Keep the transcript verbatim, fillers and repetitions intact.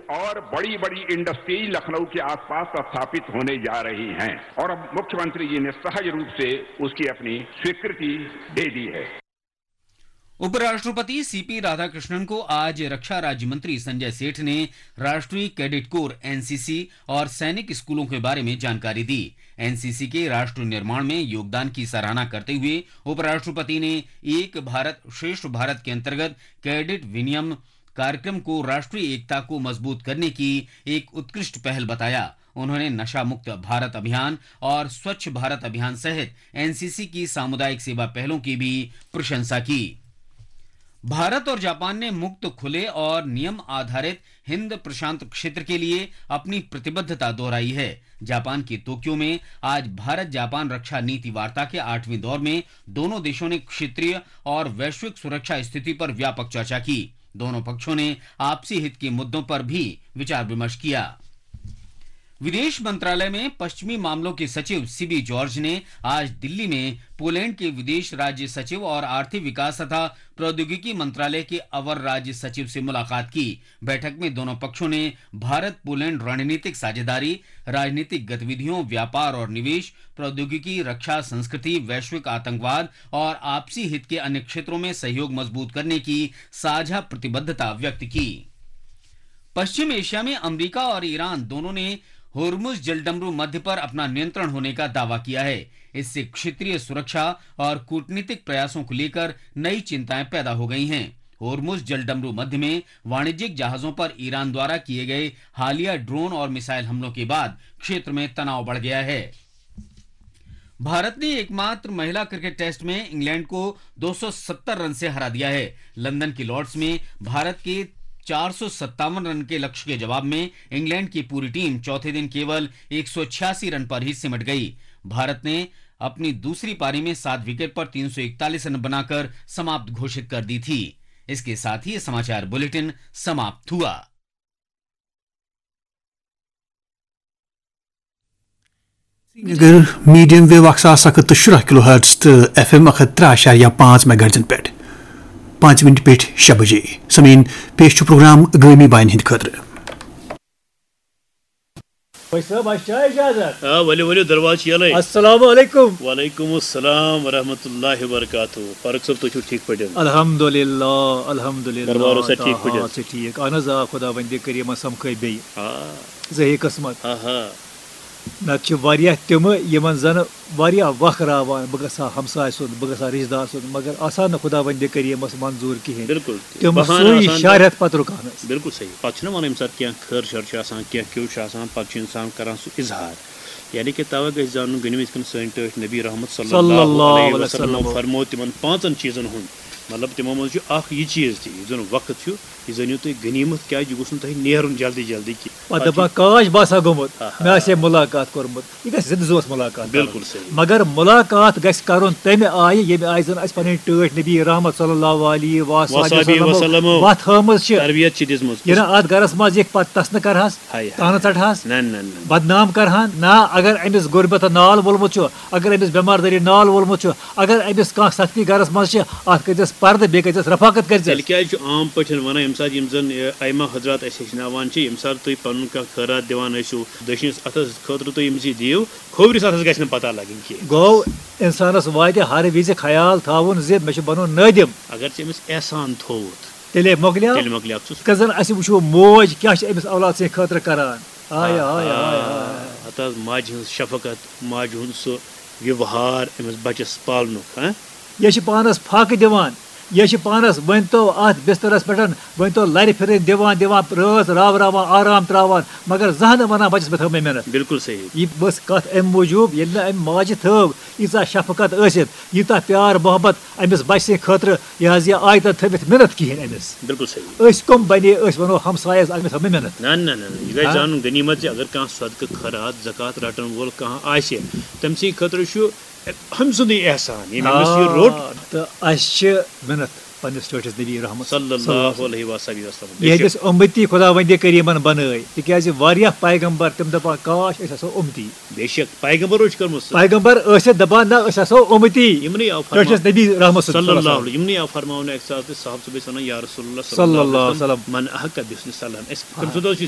और बड़ी बड़ी इंडस्ट्रीज लखनऊ के आसपास स्थापित होने जा रही हैं और अब मुख्यमंत्री जी ने सहज रूप से उसकी अपनी स्वीकृति दे दी है। उपराष्ट्रपति सीपी राधाकृष्णन को आज रक्षा राज्य मंत्री संजय सेठ ने राष्ट्रीय कैडेट कोर एनसीसी और सैनिक स्कूलों के बारे में जानकारी दी। एनसीसी के राष्ट्र निर्माण में योगदान की सराहना करते हुए उपराष्ट्रपति ने एक भारत श्रेष्ठ भारत के अंतर्गत कैडेट विनियम कार्यक्रम को राष्ट्रीय एकता को मजबूत करने की एक उत्कृष्ट पहल बताया। उन्होंने नशा मुक्त भारत अभियान और स्वच्छ भारत अभियान सहित एनसीसी की सामुदायिक सेवा पहलों की भी प्रशंसा की। भारत और जापान ने मुक्त, खुले और नियम आधारित हिंद प्रशांत क्षेत्र के लिए अपनी प्रतिबद्धता दोहराई है। जापान के टोक्यो में आज भारत जापान रक्षा नीति वार्ता के आठवें दौर में दोनों देशों ने क्षेत्रीय और वैश्विक सुरक्षा स्थिति पर व्यापक चर्चा की। दोनों पक्षों ने आपसी हित के मुद्दों पर भी विचार विमर्श किया। विदेश मंत्रालय में पश्चिमी मामलों के सचिव सीबी जॉर्ज ने आज दिल्ली में पोलैंड के विदेश राज्य सचिव और आर्थिक विकास तथा प्रौद्योगिकी मंत्रालय के अवर राज्य सचिव से मुलाकात की। बैठक में दोनों पक्षों ने भारत पोलैंड रणनीतिक साझेदारी, राजनीतिक गतिविधियों, व्यापार और निवेश, प्रौद्योगिकी, रक्षा, संस्कृति, वैश्विक आतंकवाद और आपसी हित के अन्य क्षेत्रों में सहयोग मजबूत करने की साझा प्रतिबद्धता व्यक्त की। पश्चिम एशिया में अमेरिका और ईरान दोनों ने होर्मुज जलडमरू मध्य पर अपना नियंत्रण होने का दावा किया है। इससे क्षेत्रीय सुरक्षा और कूटनीतिक प्रयासों को लेकर नई चिंताएं पैदा हो गई हैं। होर्मुज जलडमरू मध्य में वाणिज्यिक जहाजों पर ईरान द्वारा किए गए हालिया ड्रोन और मिसाइल हमलों के बाद क्षेत्र में तनाव बढ़ गया है। भारत ने एकमात्र महिला क्रिकेट टेस्ट में इंग्लैंड को दो सौ सत्तर रन से हरा दिया है। लंदन के लॉर्ड्स में भारत के चार सौ सत्तावन रन के लक्ष्य के जवाब में इंग्लैंड की पूरी टीम चौथे दिन केवल एक सौ छियासी रन पर ही सिमट गई। भारत ने अपनी दूसरी पारी में सात विकेट पर तीन सौ इकतालीस रन बनाकर समाप्त घोषित कर दी थी। इसके साथ ही ये समाचार बुलेटिन समाप्त हुआ। سرینگر میڈیم ویو اکھ ساس اکھ ہتھ تہٕ شُراہ کلو ہرٹز تہٕ ایف ایم اکھ ہتھ ترٛےٚ اعشاریہ پانٛژھ میگا ہرٹزن پٮ۪ٹھ پانٛژِ مِنٹہِ پیٚٹھۍ شےٚ بجے۔ سمیٖن، پیش چھُ پروگرام گٲمی باین ہٕنٛدِ خٲطرٕ۔ بھائی صٲب، اَسہِ چھا اجازت؟ آ، ؤلِو، ؤلِو، دروازٕ چھِ یَلَے۔ السلام علیکم۔ وعلیکم السلام ورحمۃ اللہ وبرکاتہ۔ فاروق صٲب، تُہۍ چھِو ٹھیٖک پٲٹھۍ؟ الحمدللہ، الحمدللہ۔ دربار اوسا ٹھیٖک پٲٹھۍ؟ آ، چھِ ٹھیٖک۔ اہن حظ، آ، خۄداوندِ کریٖمَن سَمکھٲے بیٚیہِ۔ آ۔ زٕ ہے قٕسمت۔ آ ہا۔ نَتہٕ چھِ واریاہ تِمہٕ یِمَن زَنہٕ واریاہ وَق راوان، بہٕ گژھٕ ہا ہمساے سُنٛد، بہٕ گژھٕ ہا رِشتہٕ دار سُنٛد، مگر آسان نہٕ خۄداوندِ کریٖمَس منظوٗر کِہیٖنۍ۔ بِلکُل۔ تِم بہانہٕ سُے آسان۔ شہرت پَتہٕ رُکان حظ۔ بِلکُل صحیح۔ پَتہٕ چھُنہ وَنان ییٚمہِ ساتہٕ کینٛہہ خٲر شَر چھُ آسان، کینٛہہ کیوٚو چھُ آسان، پَتہٕ چھُ اِنسان کَران سُہ اظہار۔ یعنی کہِ تَوَے گژھِ زانُن غنیٖمَت یِتھ کٔنۍ سٲنۍ ٹٲٹھۍ نبی رحمت صلی اللہ علیہ وسلمو فرموو تِمَن پانٛژَن چیٖزَن ہُنٛد، مطلب تِمو منٛز چھُ اَکھ یہِ چیٖز تہِ، یُس زَن وقت چھُ، یہِ زٲنِو تُہۍ غنیٖمت، کیٛازِ یہِ گوٚژھ نہٕ تۄہہِ نیرُن جلدی جلدی کینٛہہ۔ پَتہٕ دَپان کاش بہٕ آسہٕ ہا گوٚمُت، آہا۔ مےٚ آسہِ ہے مُلاقات کوٚرمُت۔ یہِ گژھِ زِندٕ زُوَس مُلاقات کَرُن۔ بِلکُل صحیح۔ مگر مُلاقات گژھِ کَرُن تَمہِ آیہِ، ییٚمہِ آیہِ زَن اَسہِ پَنٕنۍ ٹٲٹھۍ نبی رحمت صلی اللہ علیہ وصحبہ وصحبہ وسلمو وسلمو وَتھ ہٲومٕژ چھِ۔ تربیت چھِ دِژمٕژ۔ یہِ نہ اَتھ گَرَس منٛز یِکھ پَتہٕ تَس نہٕ کَرٕہَس، ہاے ہاے۔ تانہٕ ژَٹہَس، نہ، نہ، نہ۔ بدنام کَرٕہَن، نہ، اگر أمِس غُربت نال وولمُت چھُ، اگر أمِس بٮ۪مار دٲری نال وولمُت چھُ، اگر أمِس کانٛہہ سختی گَرَس منٛز چھِ، اَتھ کٔرۍزٮ۪س پَردٕ، بیٚیہِ کٔرۍزٮ۪س رفاقت کٔرۍزٮ۪س۔ تیٚلہِ کیٛازِ چھُ عام پٲٹھۍ وَنان، ییٚمہِ ساتہٕ یِم زَن، یہِ، ائمہ حضرات اَسہِ ہیٚچھناوان چھِ، ییٚمہِ ساتہٕ تُہۍ پَنُن کانٛہہ خٲرات دِوان ٲسِو، دٔچھنِس اَتھَس خٲطرٕ تُہۍ أمِس یہِ دِیِو، کھوورِس اَتھَس گژھِ نہٕ پَتہ لَگٕنۍ کینٛہہ۔ گوٚو، اِنسانَس واتہِ ہر وِزِ خیال تھاوُن زِ مےٚ چھُ بَنُن نٲدِم۔ اگر ژےٚ أمِس احسان تھووُتھ، تیٚلے مۄکلیو۔ تیٚلہِ مۄکلیو۔ ژٕ یِتھ کٔنۍ زَن اَسہِ وٕچھو موج کیٛاہ چھِ أمِس اولاد سٕنٛدِ خٲطرٕ کَران۔ ہاے، ہاے، ہاے، ہاے۔ ہتہٕ حظ ماجہِ ہٕنٛز شفقت، ماجہِ ہُنٛد سُہ ویوہار أمِس بَچَس پالنُک، ہاں؟ یہِ چھِ پانَس پھاکہٕ دِوان، یہِ چھِ پانَس، ؤنۍ تو اَتھ بِستَرَس پٮ۪ٹھ، ؤنۍ تو لَرِ پھِرٕنۍ دِوان، دِوان، رٲژ راو راوان، آرام ترٛاوان، مگر زانٛہہ نہٕ وَنان بَچَس مےٚ تھٲو مےٚ محنت۔ بِلکُل صحیح۔ یہِ ؤژھ کَتھ اَمہِ موٗجوٗب، ییٚلہِ نہٕ اَمہِ ماجہِ تھٲو ییٖژاہ شفقت ٲسِتھ، ییٖژاہ پیار محبت أمِس بَچہِ سٕنٛدِ خٲطرٕ، یہِ حظ یہِ آیتَن تھٲوِتھ محنت کِہیٖنۍ أمِس۔ بِلکُل صحیح۔ أسۍ کٕم بَنے، أسۍ وَنو ہمسایَس، أمِس تھٲو مےٚ محنت۔ نہ، نہ، نہ، نہ، یہِ گژھِ ہاں۔ زانُن غنیٖمت زِ اگر کانٛہہ صدقہٕ خٲرات، زکوٰۃ رَٹَن وول کانٛہہ آسہِ، تٔمۍ سٕنٛدِ خٲطرٕ چھُ أمۍ سُنٛدُے احسان، ییٚمۍ أمِس یہِ روٚٹ۔ آ، تہٕ اَسہِ چھِ محنت۔ پننِس ٹٲٹھِس نبی رحمت صلی اللہ علیہ وصحبہ وسلم۔ بے شک، یہندِس اُمتی خداوندِ کریٖمن بنٲے، تِکیازِ واریاہ پیغمبر تِم دپان کاش أسۍ آسو اُمتی۔ بے شک، پیغمبرو چھُ کٔرمٕژ سۄ۔ پیغمبر ٲسِتھ دپان نہ أسۍ آسو اُمتی۔ یِمنٕے آو فرماو- ٹٲٹھِس نبی رحمت صلی اللہ علیہ، یِمنٕے آو فرماونہٕ اکہِ ساتہٕ تہِ صحابہٕ صٲب ٲسۍ ونان یا رسول اللہ صلی اللہ علیہ وسلم۔ من احق بحسن سلام۔ اسہِ تٔمۍ سُنٛد اوس یہِ